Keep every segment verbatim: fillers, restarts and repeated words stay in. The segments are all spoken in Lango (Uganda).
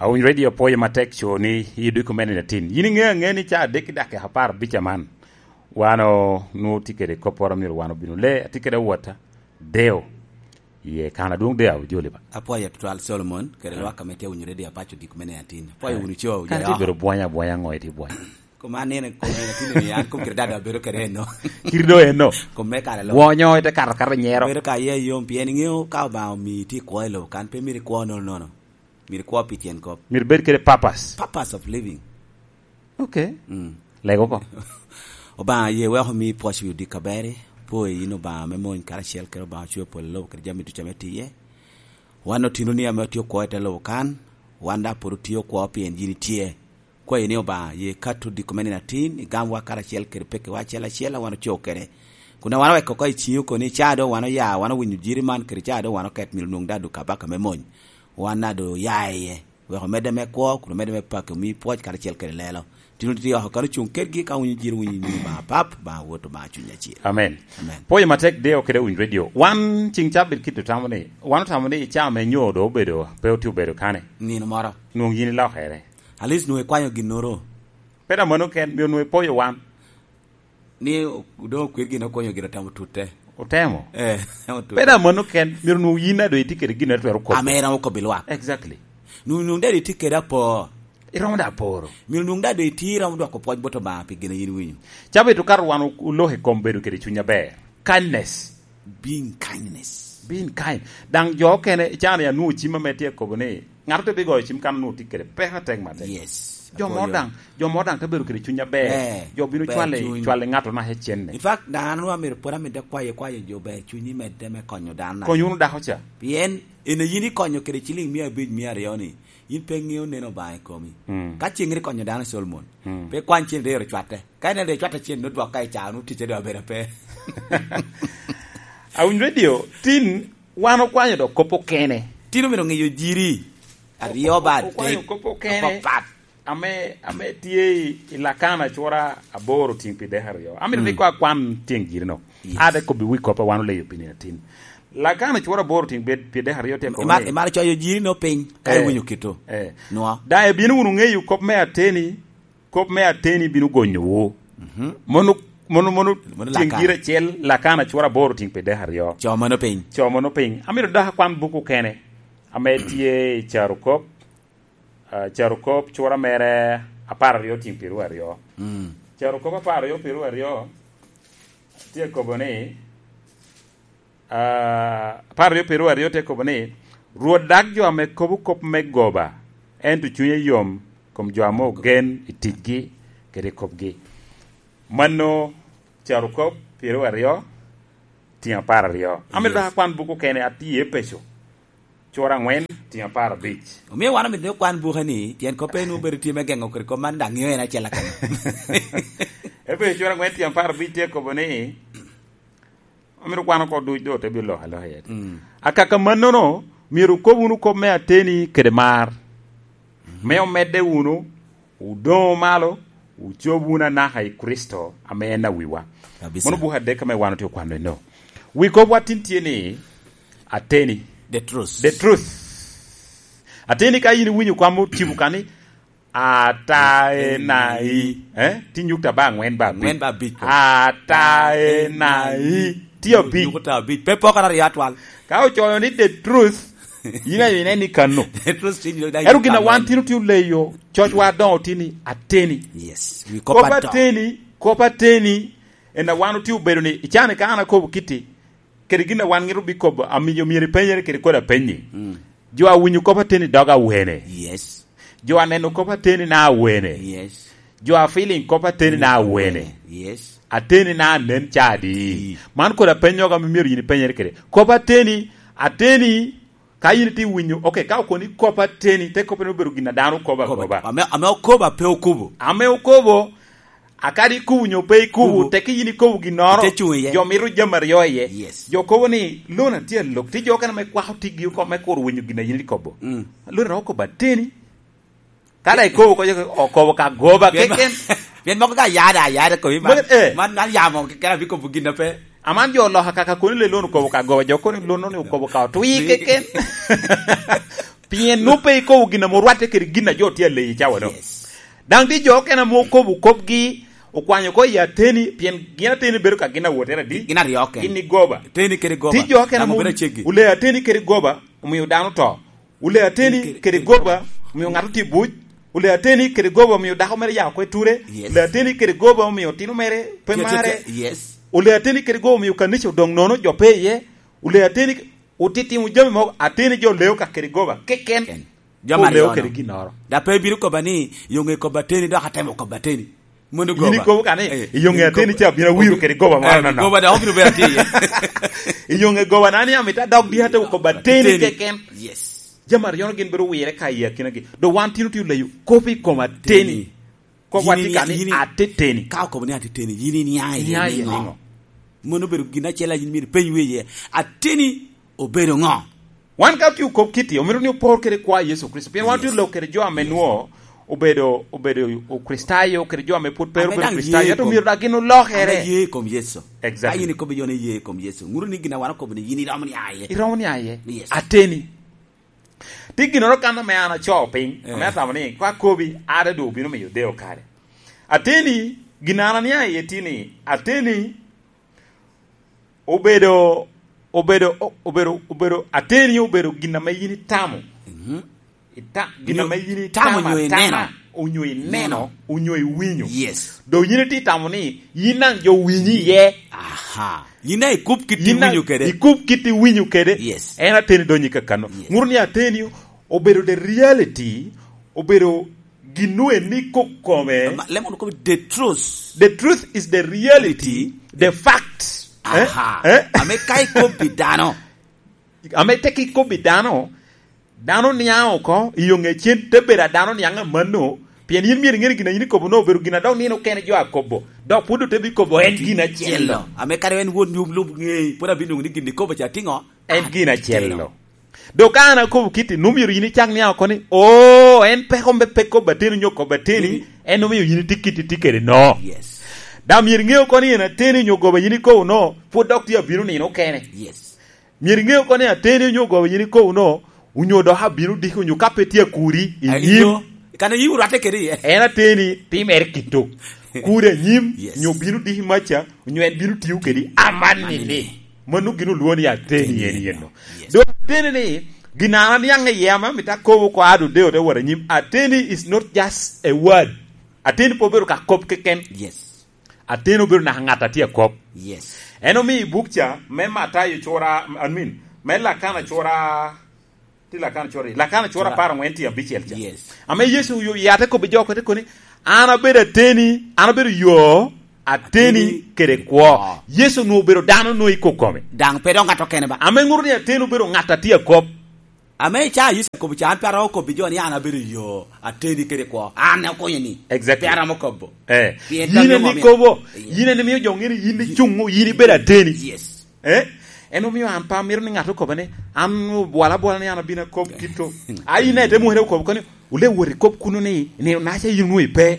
Owiny Radio, apwoyo matek co ni i dweko mene atin. Yin iŋeo aŋea ni ca adek i dakika apar abic aman, wan onwoŋo tye kede kopporo myero wan obino le, atye kede awota, Deo. Ye, kan adwoŋ Deo, ojoli ba. Apwoyo tutwal Solomon, kede lwak ame tye winyo Radio Apaco dweko mene atin. Apwoyo wunu co, Kan tye bedo bwonya, bwonya ŋo itye bwonya? Kom an nene, kom nene tino ni an kom kede dada abedo kede eno. Kiri do eno. Kom me kare lo. Bwonyo ite kato kata nyero. Bedo ka ye yom, pien iŋeo ka Obaŋa omi tye kwo i lobo kan, pe myero ikwo nono nono. Myero ikwo pi tyen kop. Myero bed kede purpose. Purpose of living. Okay. Mm. Lego ko. Obaŋa ye weko mi pwoc wi odika beri, po i yin Obaŋa me mony karacel kede Obaŋa ocweyo polo lobo kede jami ducu ame tiye. Wan otino ni ame otye okwo i te lobo kan, wan daŋ pwod otye okwo pien yin itye. Kwayi ni Obaŋa, ye kato diko me nino atin, igamwa karacel kede pekkiwa acel acel, a wan ocoo kede. Kun a wan oweko oko i ciŋi oko ni ca do wan oya, wan owinyo jiri man kede ca do wan oket myero nwoŋ daŋ duk abaka me mony. Wan daŋ do oya iye. Weko medde me kwo, kun medde me paki, omi pwoc karacel kede lelo. Tino tye oko kan ocuŋ kedgi ka winyo jiri winyo ni Obaŋa Pap, Obaŋa Wot, Obaŋa Cuny Acil. Amen. Amen. Pwoyo matek Deo kede Winy Radio. Wan ciŋ cabit kit otamo ni, wan otamo ni ca me nyo do obedo, pe otye obedo kane. Nino moro. Nwoŋ yin ilokere. At least nwoŋo ikwanyo ginnoro. Pe daŋ mano ken, myero nwoŋo ipoyo wan. Ni o-, doŋ okwer gin okonyo gin otemo tutte. Otemo? Eh, otutto. Pe daŋ mano ken, myero nwoŋo yin daŋ doŋ itye kede gin a twero kobbi. Ame iromo kobbi lwak. Exactly. Nwoŋo, nwoŋo daŋ itye kede apor. Iromo daŋ aporo. Myero nwoŋo daŋ doŋ itye iromo dwoko pwoc bot Obaŋa pi gin a yin iwinyo. Cabit okato wan o-, oloko i kom bedo kede cuny aber. Kindness. Being kindness. Being kind. Daŋ jo okene, ican ya nwoŋo cim ame tye kobo ni, ŋat ote bigoyo cim kan onwoŋo tye kede peko atek matek. Yes. Jo moro daŋ, jo moro daŋ te bedo kede cuny aber. Eh, jo bino ber cwale, cuny. Cwale ŋat onaka cenne. In fact, daŋ an onwoŋo amito pwod amito kwayo, kwayo jo ber cuny i medde me konyo dano. Kony wunu dako ca. Pien en a yin ikonyo kede ciliŋ mia abic, mia aryo ni, yin pe ŋeo neno Obaŋa i komi. Mm. Ka ceŋ iri konyo dano Solomon, mm, pe kwany cen rero cwatte. Ka ineno dee cwat acel, nwoŋo dwok ka i caa, nwoŋo ticce doŋ abedo ape. Awiny Radio, tin wan okwanyo dok kop okene. Tin omito ŋeyo jiri aryo ba adek. Okwanyo kop okene. Apapat. Ame, ame tye i, i Lakana cura aboro tiŋ pi dek aryo. Amito ni kwa kwan tiŋ jiri no. Yes. Ade kobbi wi kop a wan oleyo pi nino atin. Lakana cura aboro tiŋ pi, pi dek aryo tye kobo ni. Imar-, imar coyo jiri no piny, ka iwinyo kito. Eh. Nwa. Daŋ ibino wunu ŋeyo kop me ateni, kop me ateni bino gonyowu. Mhm. Mono, mono, mono, mono tyeŋ Lakana. Gira acel, Lakana cura aboro tiŋ pi dek aryo. Co mano piny. Co mano piny. Amito dok akwan buk okene ame tye i Carokop, ah, Carokop cura mere apar aryo tiŋ piru aryo. Mm. Carokop apar aryo piru aryo tye kobo ni, Ah, apar aryo piru aryo tye kobo ni, "Rwot dag jo ame kobo kop me goba, ento cunye yom kom jo ame ogen i ticgi kede i kopgi." Mano Carokop piru aryo, tiŋ apar aryo. Amito dok akwan buk okene atye i Epeco, cura angwen, tiŋ apar abic. Omio wan omito ni okwan buke ni, pien kop en obedo tye me geŋo kede kop man, daŋ ŋeo en acel akene. Epeco cura angwen, tiŋ apar abic tye kobo ni, Amito kwano oko duc, do te bino loko aloka iye. Mm. Akaka mannono, myero wukob wunu kop me ateni kede mar. Mm. Me omedde wunu, wudoŋ malo, wucob wunu anaka i Kricito, ame en awiwa. Kabisa. Mano buk adek ame wan otye okwano eno. Wi kop wa tin tye ni, ateni. The truth. The truth. Ateni ka in iwinyo kwamo tipo ka ni, Ata ena i. Eh? Ti nyukta ba angwen ba abic. Angwen ba abic. Ata ena i. Ti abic. Nyukta abic. Pe poko aryo atwal. Ka ocoyo ni the truth, yin ayo inen ni kano. The truth ti nyuto dai. Ero gina wan tino ti oleyo, coc wa doŋo ti ni ateni. Yes. Wi kop ato. Kop ateni, kop ateni, en a wan otye obedo ni, icani ka an akobo kiti, kede gin a wan ŋito bikobo, amiyo myero ipenyere kede kodi apenyi. Mm. Jo a winyo kop ateni dog awene? Yes. Jo a neno kop ateni na awene? Yes. Jo a feeling kop ateni na awene? Yes. Ateni na anen ca adi? Ii. Man kodi apenyogo ame myero yin ipenyere kede. Kop ateni, ateni, ka yin itye winyo, okay, ka okoni kop ateni, te kop ateni obedo gin a dano kobo akoba. Ame, ame okobo, ape okobo. Ame okobo, Akadi ikubo nyo pe ikubo, kubo, teke yin ikobo ginnoro, ite cuŋ iye. Jo mito jami aryo iye. Yes. Jo kobo ni, "Lona tye alok." Ti jo okene me kwako tigi oko me kuro winyo gin a yin ikobo. Mm. Lona oko bateni. Kada ikobo ko, okobo ka goba keken. Pien moko ka yada, yada ko, man, eh, man, man yamo keken abikobo gin a pe. Aman jo oloka kaka koni le lona okobo ka goba, jo koni lona ni okobo ka otwi keken. Pien nwoŋo pe ikobo gin ame orwatte kede gin a jo tye aleyi cawa do. Yes. Daŋ tye jo okene ame okobo kopgi, okwanyo oko i ateni, pien gin ateni bedo ka gin awotere adi? Gin aryo okene. Gin i goba. Ateni kede goba. Tye jo okene ame obedo aceggi. Ole ateni kede goba, omio dano to. Ole ateni kede goba, omio ŋat otye buc. Ole ateni kede goba, omio dako mere ya oko i ture. Yes. Ole ateni kede goba, omio tino mere pe mare. Yes. Ole ateni kede goba, omio kanica odoŋ nono, jo pe iye. Ole ateni otitimo jami mogo, ateni jo leo ka kede goba keken. Ken. Jo kede ginnoro. Da pe ibino koba ni, "Yo ŋe koba ateni, dok atemo koba ateni." Mono goba. In ikobo ka ni, "Yo ŋe ateni ca bino awiro kede goba moro nono." Goba da obino bedo atye iye. "Yo ŋe goba na ni amita dok di atemo koba ateni keken." Yes. Jami aryo-nu gin bedo wire ka i akinagi. Do wan tino tye oleyo kop i kom ateni. Kop atye ka ni ateteni. Ka okobo ni ateteni, yin inia iye niŋo? Mono obedo gin acel a yin myero ipeny wiye iye. Ateni obedo ŋo? Wan ka otye okop kiti, omito ni opor kede kwa Yecu Kricito. Pien wan otye lok kede jo ame nwo obedo, obedo Okricitayo, kede jo ame pwod pe obedo Okricitayo, ento myero dak gin olokere. Ame ye i kom Yecu. Exactly. Ka yin ikobo jo ni ye i kom Yecu, ŋuto ni gin a wan okobo ni yin iromo ni aye. Iromo ni aye. Yes. Ateni. Tye ginnoro kan ame an acoo piny, ame atamo ni, ka akobi, ade doŋ obino miyo deo kare. Ateni, gin an ania iye tye ni, ateni obedo, obedo, o-, obedo, obedo, ateni obedo gin ame yin itamo. Mhm. Ita-, gin ame yin itamo atama, onyo ineno, onyo iwinyo. Yes. Doŋ yin itye itamo ni, yin daŋ jo winyi iye. Aha. Yin daŋ ikub kit iwinyo kede. Ikub kit iwinyo kede. Yes. En ateni donyo i kakano. Yes. Ŋuto ni ateni obedo the reality, obedo gin nu en ni kok kome. Ma, lemo nu kobo the truth. The truth is the reality, the fact. Aha. Eh? Eh? Ame ka ikobbi dano. Ame tek ikobbi dano, dano niaŋ oko, i yo ŋe cen te bedo a dano niaŋ amanno, pien yin myero iŋe ni gin a yin ikobo no obedo gin a dok nino okene jo akobo, dok pwod ote bikobo en gin acel-lo. Ame kadi en wot nyom lub ŋe, pwod abino nwoŋo ni gin ikobo ca tye ŋo? En gin acel-lo. Dok ka an akobo kiti, nu myero yin icak niaŋ oko ni, "Oo, en pe kombe pe kobo ateni onyo kobo ateni, en omio yin itye kiti tye kede no." Yes. Dok myero iŋe oko ni en ateni onyo goba yin ikobo no, pwod dok tye abino nino okene. Yes. Myero iŋe oko ni ateni onyo goba yin ikobo no, onyo dok abino diki, onyo ka pe tye akuri i nyim. Kan oyim orwatte kede iye. En ateni timere kito. Kuri anyim, yes, onyo bino diki maca, onyo en bino tiyo kedi amanni-ni. Mano gin olwoŋo ni ateni en yen-no. Yes. Dok ateni-ni, gin an aniaŋ iye ame amito akobo oko a dodeo te wot anyim. Ateni is not just a word. Ateni pe obedo ka kop keken. Yes. Ateni obedo naka ŋat a tye akop. Yes. En omio i buk ca, me Matayo cura, I mean, me Lakana cura, ti Lakana cura, Lakana cura apar aŋwen ti abicel ca. Yes. Ame Yecu oyo yate kobbi jo kote koni, "An abedo ateni, an abedo yo, ateni kede kwo." Yecu onwoŋo obedo dano onwoŋo i kok kome. Daŋ pe dok ŋat okene ba. Ame ŋuto ni ateni obedo ŋat a tye akop. Ame ca Yecu akobo ca, an pe aromo kobbi jo ni an abedo yo, ateni kede kwo. An akonyo ni. Exactly. Pe aromo kobo. Eh. Pien yin en ikobo, yes, yin en imio jo ŋeni yin icuŋ, yin ibedo ateni. Yes. Eh? En omio an pe amito ni ŋat okoba ni, an obwala abwala ni an abino akob kito. A yin ete mwere okobo koni, "Wule wot ikob kuno ni, nino naca yin onwoŋo ipe."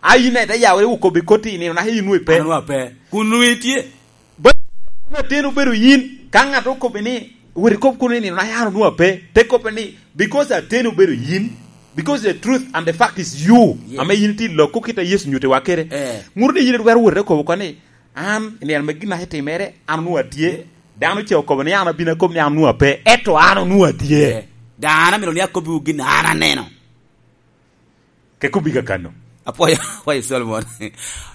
A yin ete yawere okobo i koti, "Nino naca yin onwoŋo ipe." An onwoŋo ape. Kun onwoŋo itye? Ba-, ateni obedo yin. Ka ŋat okobo ni, "Wot ikob kuno ni, nino naca an onwoŋo ape." Te kobbe ni, "Because ateni obedo yin, because the truth and the fact is you." Yes. Ame yin itye loko kit a Yecu nyutiwa kede. Eh. Ŋuto ni yin itwero wot ikobo koni, An, i nino me gin aca timere, an onwoŋo atye. Dano ce okobo ni an abino akobo ni an onwoŋo ape, ento an onwoŋo atye. Eh, daŋ an amito ni akobbiwu gin an aneno. Ke kobbi kakano. Apwoyo, apwoyo Solomon.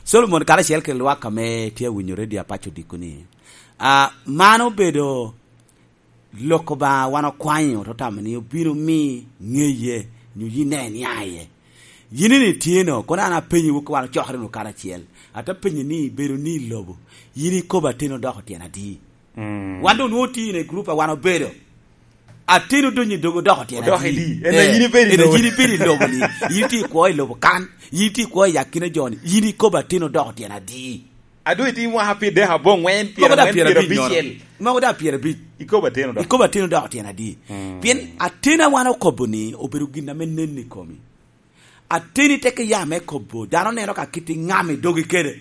Solomon karacel kede lwak ame tye awinyo redio apaco diko ni, ah, man obedo Lok Obaŋa wan okwanyo, te tamo ni obino mi ŋeye, nyo yin nen ya iye. Yin ni tye no, kono an apenyowu ka wan ocokere wunu karacel. Ate penyo ni, bedo ni i lobo, yin ikobo ateni odoko tyen adi? Mm. Wan doŋ nwoŋo tye in i gurup a wan obedo. Ateni odonyo i dogo odoko tyen adi? Odoko adi? En yin ibedo i lobo. Yin itye i kwo i lobo kan, yin itye i kwo i akina jo-ni, yin ikobo ateni odoko tyen adi? Adu iti mwaka pyeradek aboŋwen, pyeraŋwen, pyerabicel. Moko da pyerabic. Ikobo ateni odoko. Ikobo ateni odoko tyen adi? Mm. Pien ateni a wan okobo ni obedo gin ame nen i komi. Ateni teke ya me kobo, dano neno ka kit i ŋam i dogi kede.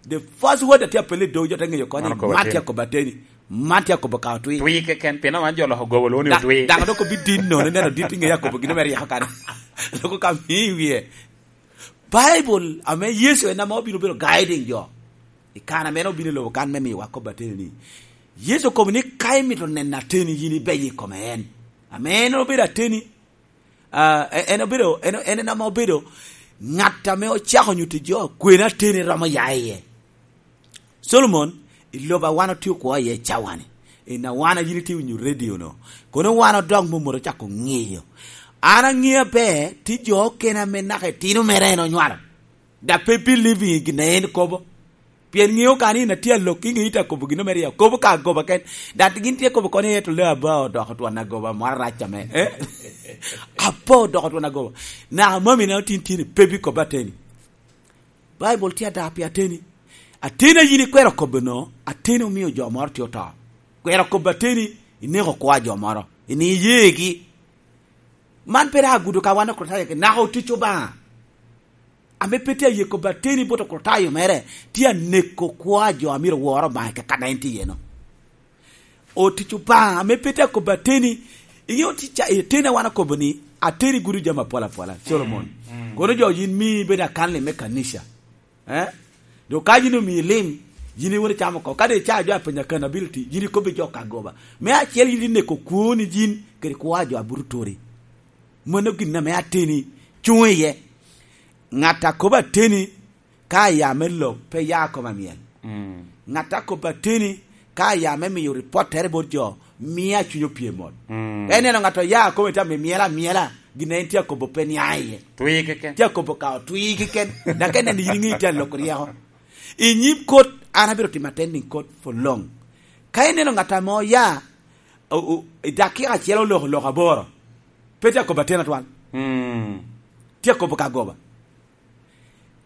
The first word atye apel i dogi, jo te ŋeyo koni, man tye akobo ateni. Man tye akobo ka otwi. Twi keken, pien wan jo loko gobo lwongo ni Da-, otwi. Daŋ dok obidinno, ni neno dit i ŋe akobo gin ame ryeko kan. Loko ka mi i wie. Baibul ame Yecu en ame obino bedo guiding jo. I kan ame en obino i lobo kan me miyowa kop ateni ni, Yecu okobo ni, "Ka imito neno ateni, yin ibeyo i kome en." Ame en obedo ateni, ah, en obedo, en, en, en ame obedo ŋat ame ocako nyuto jo kwena ateni romo ya iye. Solomon, i lobo a wan otye okwo iye i cawani, i na wan a yin itye winyo radio no, kono wan odok momoto ocako ŋeyo. An aŋeo aber, tye jo okene ame naka itino mere en onywalo. Dok pe believing i gin a en kobo. Pien ŋeo kan in atye alok, i ŋe ite akobo gin mere, akobo ka agoba ken. Dok gin tye kobo kono i eto le aba odoko twon agoba, moro arac ame. Eh? Apa odoko twon agoba. Naka mami na otin tini, pe bi kobo ateni. Baibul tye ada pi ateni. Ateni a yin ikwero kobo no, ateni omio jo moro tye oto. Kwero kobo ateni, ineko kwo a jo moro. Ini iyegi. Man pe daŋ agudo ka wan Okricitayo, naka otic Obaŋa. Ame pe tye aye kobo ateni bot Okricitayo mere, tye aneko kwo a jo a myero wor Obaŋa i kaka en tye iye no. Otic Obaŋa, ame pe tye akobo ateni, iŋeo tic a-, ateni a wan okobo ni, ateni gudo jami apol apola, Solomon. Mm, mm. Kono jo yin mi bedo akanli me kanica. Eh? Dok ka yin omii lim, yin iwot icamo oko. Ka doŋ icaa jo apenyo accountability, yin ikobbi jo ka goba. Me acel yin ineko kwoni yin, kede kwo a jo a buto turi. Mano gin ame ateni cuŋ iye. Ŋat a kobo ateni ka aya me lok, pe ya kome amyel. Mm. Ŋat a kobo ateni ka aya me miyo ripottere bot jo, mia cuny opye mot. Mm. En neno ŋat oya kome tye ame myel amyela, gin en tye akobo pe nia iye. Twi keken. Tye akobo ka otwi keken. Dok en neno yin iŋe tye aloko ryeko. I nyim kot, an abiro timo attending kot for long. Ka ineno ŋat ame oya, o-, o-, i dakika acel oloko lok aboro, pe tye akobo ateni atwal. Mm. Tye akobo ka goba.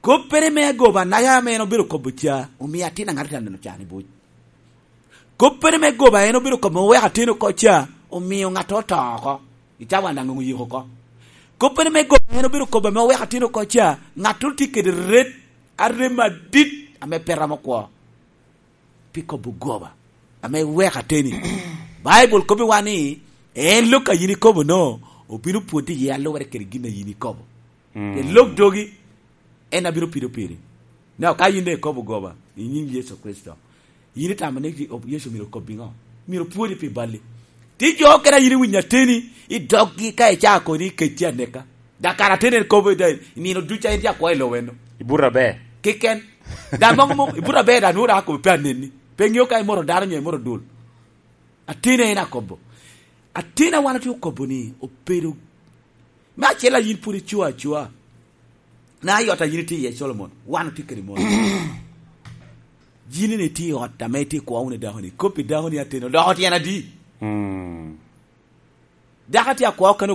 Koppere me agoba, naka ame en obedo kobo ca, omio atin aŋat tye aneno can i buc. Koppere me goba en obedo kobo me weko ateni oko ca, omio ŋat oto oko. I cawa daŋ oyiko oko. Koppere me goba en obedo kobo ame oweko ateni oko ca, ŋat tye kede ret, arem adit ame pe romo kwo. Pi kobo goba, ame weko ateni. Baibul kobbiwa ni, en lok a yin ikobo no, obino pwoddi iye alubere kede gin a yin ikobo. Mm. Pien lok dogi, en a bino pido piri. Naka ka yin doŋ ikobo goba i nyim Yecu Kricito, yin itamo ni Yecu myero okobbi ŋo? Myero opwodi pi balli. Tye jo okene a yin iwinyo ateni i doggi ka icaa koni i kec tye aneka. Dok kara ateni en kobo i nino ducu a en tye akwo i lobo eno. I buto aber. Kiken. Daŋ mom, mom, i buto aber daŋ nwoŋo daŋ akobo pe anenni. Pe ŋeo ka imoto dano nyo imoto dul. Ateni en akobo. Ateni a wan otye okobo ni obedo me acel a yin pwod ico acoa. Na i ot a yin itye iye, Solomon, wan otye kede mot. Yin ni itye i ot ame itye ikwo wunu i dakoni, kop i dakoni ateni, odoko tyen adi? Mm. Dako atye akwo kene